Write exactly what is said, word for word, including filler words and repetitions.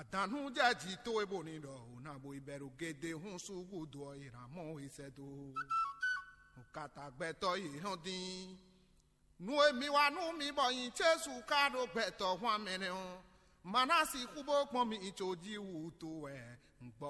Adǎnnú jɛ jǐ towe bó ní ɖɔ ò ná bo yi bɛ́ ɖo gédé hún sú gúdo ɔ́, è nǎ mɔ we sɛ́ dó. Nǔkata gbɛtɔ́ yě hɔn dín. Nú e mi wa nú mi bɔ nyi Jezu ka ɖo gbɛtɔ́ hwan mɛ nɛ́ ɔ́, ma ná sixú bó gbɔn mi có jí wútu wɛ un gbɔ